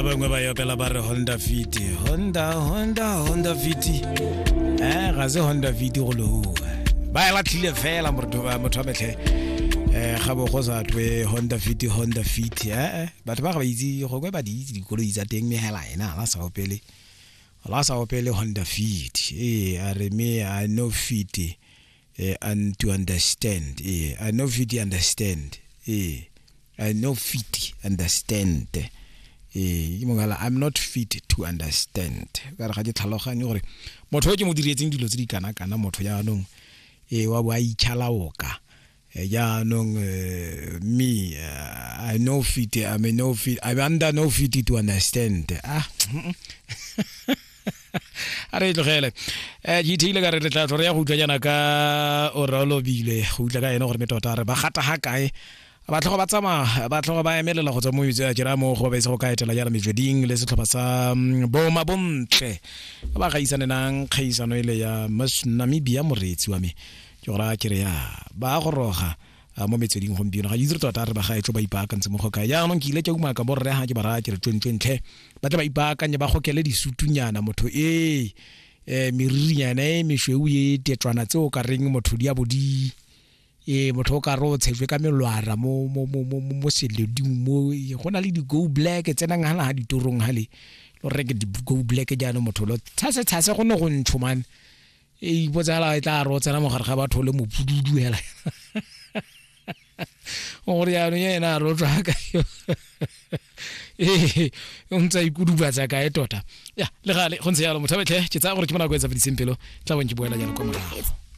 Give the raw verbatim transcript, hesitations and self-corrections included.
Bangwe ba opela ba re Honda Fit, Honda, Honda, Honda Fit. Eh, ga se Honda Fit go le ho. Ba e latlhile fela motho motho wa metlhe. Eh, ga bo go sa twe Honda Fit, Honda Fit. Eh, batho ba ga ba itse gongwe ba di itse dikoloi tsa teng mme hela ena ga sa opele. La sa opele Honda Fit. Eh, a re me I no fit eh, and to understand. Eh, I no fit understand. Eh, I no fit understand. Eh, ke mongala I'm not fit to understand. Ka re ga ke tlhaloganye gore motho o ke mo diretseng dilo tse di kana kana motho jaanong e wa bo a itšhalaoka. Jaanong me I no fit, I'm no fit, I'm under no fit to understand. Ah. A re tlogele eh G T ile ka re re tla re ya go utlwa jaana ka o rolobile go utlwa ka ene gore me tota re ba gata ha kae ba tlhogo ba tsamaya ba tlhogo ba emelela go tswa mo metse a jera mo go ba itse go ka etela jaana metsweding le setlhopha sa Boma Bontle ba gaisane nang kgaisano ile ya Miss Namibia moreetsi wa me ke go raya ke re ya ba goroga mo metsweding gompieno ga itse tota re ba gaetso ba ipaakantse mo go kae jaanong ke ile ke umaka borre ha ke ba raya ke re tšwentšwentlhe ba tle ba ipaakanye ba gokele disutunyana motho e eh meririnyana e mešweu e tetswana tse o ka reng motho di a bo di e motho o ka re o tshetswe ka melwara mo mo mo mo mo seleding mo go na le di go black tsenang hala ha ditorong hale lo reke di go black jaanong motho lo tshase tshase go ne go ntsho man e ipotsala e tla re o tsena mogare ga batho le mopududu hela gore jaanong ena a re o tswa ka ee o ntse a ikudubatsa kae tota ya le gale go ntse jalo motho a betlhe ke tsaya gore ke mo nako e tsa fediseng pelo tla bong ke boela jalo kwa morago.